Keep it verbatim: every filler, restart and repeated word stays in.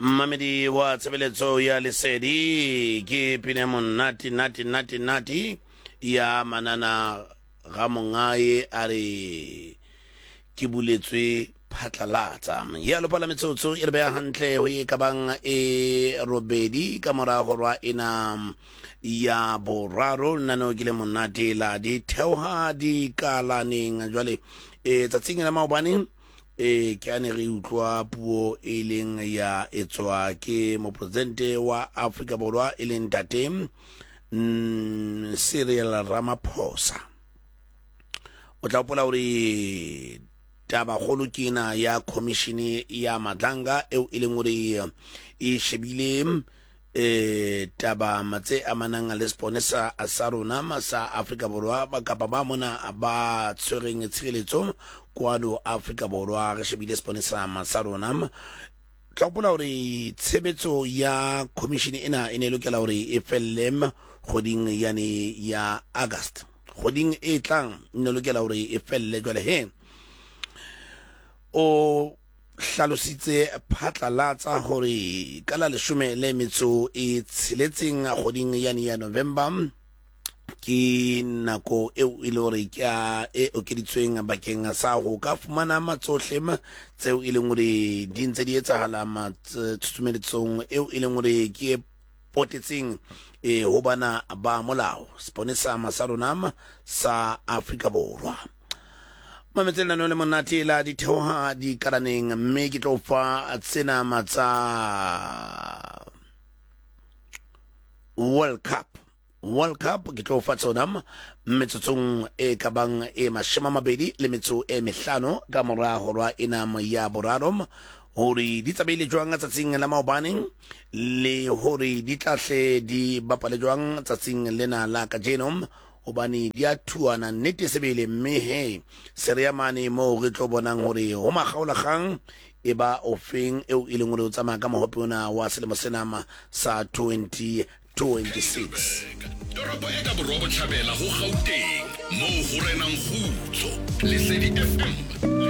Mmamedi wa tshebeletso ya Lesedi, ke pina monate nate nate nate ya Manana ga Mongae, a re ke buletswe phatlalatsa. Ya lopala metsotso e re beya hantle ho e ka bang e robedi ka mora horwa ena ya boraro. Lenaneo ke le monate la di theoha dikalaneng. Jwale e tsatsing la maobane e ke ane re utlwa puo e leng ya etswa ke mopresidente wa Afrika Borwa, e leng ntate mm, Cyril Ramaphosa. O tla hopola hore tabakgolo ke ena ya commission ya Madlanga, eo e leng hore e shebile eh taba tse amanang le seponesa sa rona sa Afrika Borwa, kapa ba mona ba tshwereng tshireletso kwano Afrika Borwa. Re shebile seponesa sa rona. Tla hopola hore tshebetso ya commission ena e ne e lokela hore e felle kgweding yane ya August, kgweding e tlang e ne lokela hore e felle. Jwale he o hlalositse phatlalatsa hore ka la leshome le metso e tsheletseng kgweding yane ya November ke nako eo e le hore ke a e okeditsweng bakeng sa ho ka fumana matsohle tseo e leng hore di ntse di etsahala tshusumeletsong eo e leng hore ke e potetseng e ho bana ba molao seponesa sa rona sa Afrika Borwa. Mametse lenaneo le monate la ditheoha dikalaneng, mme ke tlo fa tsena matsa World Cup. World Cup ke tlo fa tsona metsotsong e ka bang e mashome a mabedi le metso e mehlano ka mora horwa ena ya boraro, hore di tsamaile jwang tsatsing la maobane le hore di tla hle di bapale jwang tsatsing lena la kajeno, hobane di a thuana nnete sebele. Mme he se re ya mane moo re tlo bonang hore ho makgaolakgang e ba ofeng eo e leng hore o tsamaya ka mohope ona wa selemo sena sa twenty twenty-six. Toropo e ka borwa botjhabela ho Gauteng, moo ho renang kgutso. Lesedi F M.